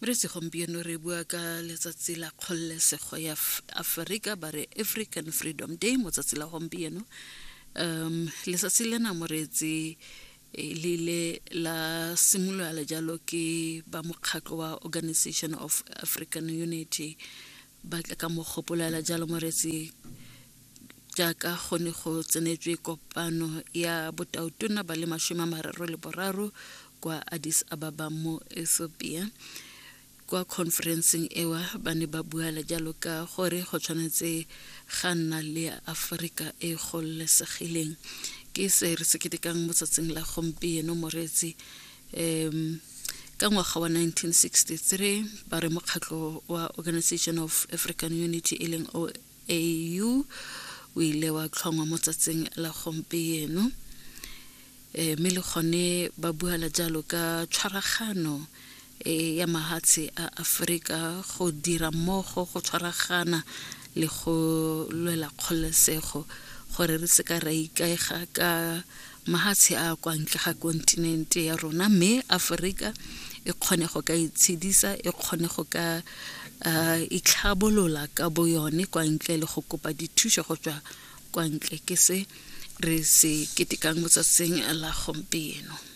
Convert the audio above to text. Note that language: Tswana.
Re segompieno re bua ka letsatsi la kgololesego ya Aforika, ba re African Freedom Day mo tsatsi la gompieno. Letsatsi lena moreetsi eh, le ile la simolola jalo ke ba mokgatlho wa Organization of African Unity ba tla ka mogopolela jalo moreetsi jaaka go ne go tsenetswe kopano ya botautona ba le 33 kwa Addis Ababa mo Ethiopia. Kwa conferenceng ewa ba ne ba buala jalo ka gore go tshwanetse ga nna le Aforika e gololesegileng. Ke se re se ketekang mo tsatsing la gompieno moreetsi. Ka ngwaga wa 1963 ba re mokgatlho wa Organization of African Unity e leng OAU o ile wa tlhongwa mo tsatsing la gompieno. Mme le gone ba buala jalo ka tshwaragano e ya mahatshe a Aforika go dira mmogo, go tshwaragana le go lwela kgololesego gore re seka ra ikaega ka mahatshe a kwa ntle ga kontinente ya rona, mme Aforika e kgone go ka itshedisa, e kgone go ka itlhabolola ka bo yone kwa ntle le go kopa dithuso go tswa kwa ntle. Ke se re se ketekang mo tsatsing la gompieno.